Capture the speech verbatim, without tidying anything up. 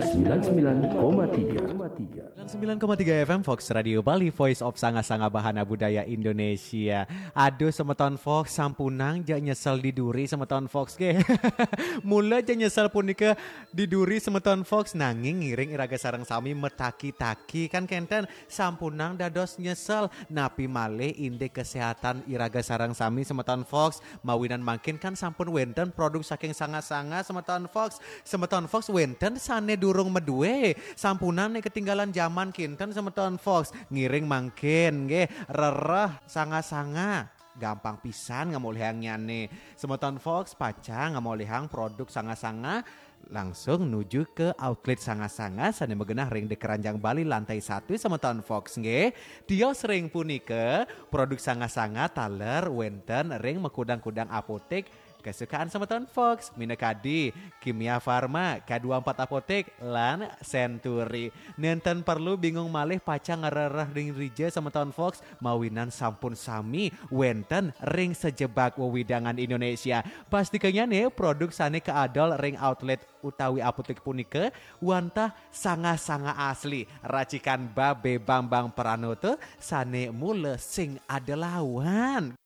sembilan sembilan koma tiga. Sembilan koma tiga F M Fox Radio Bali, Voice of Sanga-Sanga Bahana Budaya Indonesia. Aduh, semeton Fox, sampunang ja nyesel di duri, semeton Fox, ge. Mula ja nyesel punika di duri, semeton Fox, nanging ngiring iraga sareng sami metaki-taki, kan kenten, sampunang dados nyesel. Napi malih indik kesehatan iraga sareng sami, semeton Fox, mawinan mangkin kan sampun wenten produk saking Sanga-Sanga, semeton Fox. Semeton Fox, wenten sane durung medue, sampunang ne ketinggalan zaman kinten, semeton Fox. Ngiring mangkin nggih, rereh Sanga-Sanga. Gampang pisan ngamolihangnyane. Semeton Fox, pacang ngamolihang produk Sanga-Sanga, langsung nuju ke outlet Sanga-Sanga sane magenah ring di Keranjang Bali, lantai satu, semeton Fox, nggih. Tios ring punika, produk Sanga-Sanga taler wenten ring makudang-kudang apotek kesukaan semeton Fox, minakadi Kimia Farma, K dua empat Apotek, lan Century. Nenten perlu bingung malih pacang ngrereh ring dija, semeton Fox, mawinan sampun sami wenten ring sajebag wewidangan Indonesia. Pastikanyane, produk sane kaadol ring outlet utawi apotek punika wantah Sanga-Sanga asli, racikan Babe Bambang Pranoto, sane mula sing ada lawan.